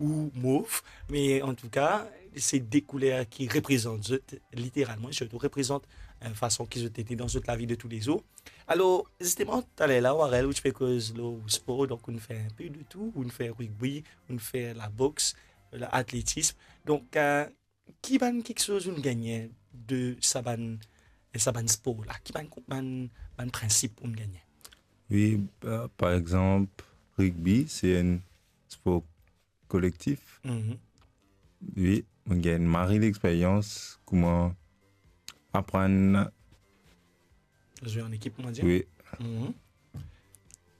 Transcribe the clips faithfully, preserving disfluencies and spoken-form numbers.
ou mov, me antouka, se de kouler ki reprezant zot literalman, sirtou reprezant, eh, fason ki zot ete dan zot lavi de toulezour. Alor, zisteman, taler la, Warel, ou ti pe koz lor spor, donk ou'nn fer inpe de tou, ou'nn fer rugby, ou'nn fer laboks, atletism. Donk, eh, ki bann kiksoz ou'nn gagne de sa bann, sa bann spor la? Ki bann, bann, bann prinsip ou'nn gagne? Wi, eh, par exanp, rugby, se enn spor kolektif. Mhm. Wi, mo gagn mari lexperyans, kouma aprann zwe an ekip, on va dire. Wi. Mhm.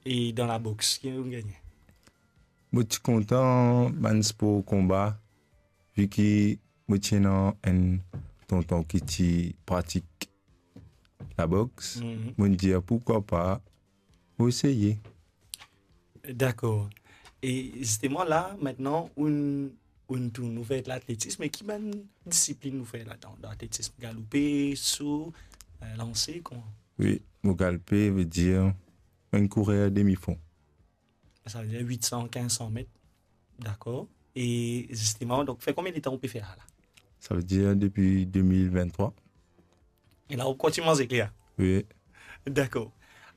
E dan laboks, ki ou'nn gagne? Mo ti kontan bann spor konba, vi ki mo ti ena enn tonton ki ti pratik laboks. Mhm. Mo'nn dir, pourkwa pa mo eseye. Dakor. E zisteman la, aster, ou'nn, ou'nn tourn, ou fer atletism, me ki bann disiplinn ou fer ladan? Dan atletism, galoupe, so, eh, lanse, kouma? Wi, mo galoupe, vedir enn kourer demi fon. Sa vedir wit san, kinz san met. Dakor. E zisteman, donk, fer konbien letan ou pe fer sa la? Sa vedir depi de mil venntrwa. E la, ou kontign manz ekler? Wi. Dakor.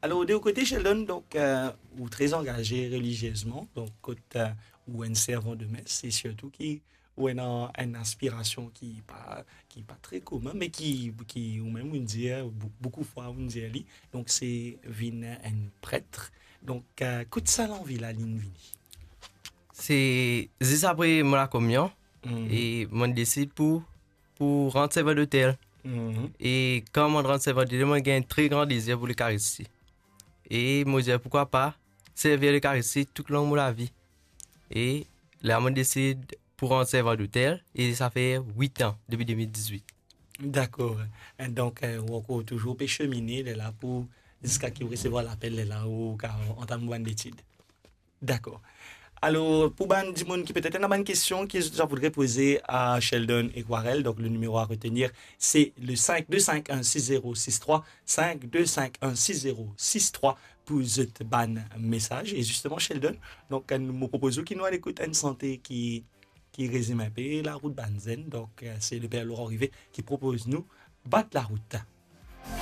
Alor, de ou kote, Sheldon, donk, eh, ou tre angaze reliziezman, donk, kot, eh, ou enn servan de mes, e sirtou ki ou ena enn aspirasion ki pa, ki pa tre komin, me ki, ki ou mem ou'nn dir, bou-, boukou fwa ou'nn dir li, donk se vinn enn pret. Donk, eh, kot sa lanvi la linn vini? Se zis apre mo lakominion, mhm, e mo'nn desid pou, pou rant servan dotel. Mhm. E kan mo'nn rant servan dotel, mo'nn gagn enn tre gran dezir pou Lekaristi. E mo dir, pourkwa pa servi Lekaristi toulong mo lavi. E la mo'nn desid pou rant servan dotel, e sa fer wit an, depi de mil dizwit. Dakor. E donk, eh, ou ankor touzour pe semine, lerla pou, ziska ki ou resevwar lapel, lerla ou kav antam bann letid. Dakor. Alor, pou bann dimoun ki petet ena bann kestion ki zot voudre poze a Sheldon ek Warel, donk le nimero a retenir, se le cinq deux cinq un six zéro six trois, cinq deux cinq un six zéro six trois pou zot bann mesaz. E zisteman, Sheldon, donk, nou, mo propoz ou ki nou al ekout enn sante ki, ki rezime inpe larout bann zenn. Donk, eh, se le Per Laurent Rivet ki propoz nou Bat larout.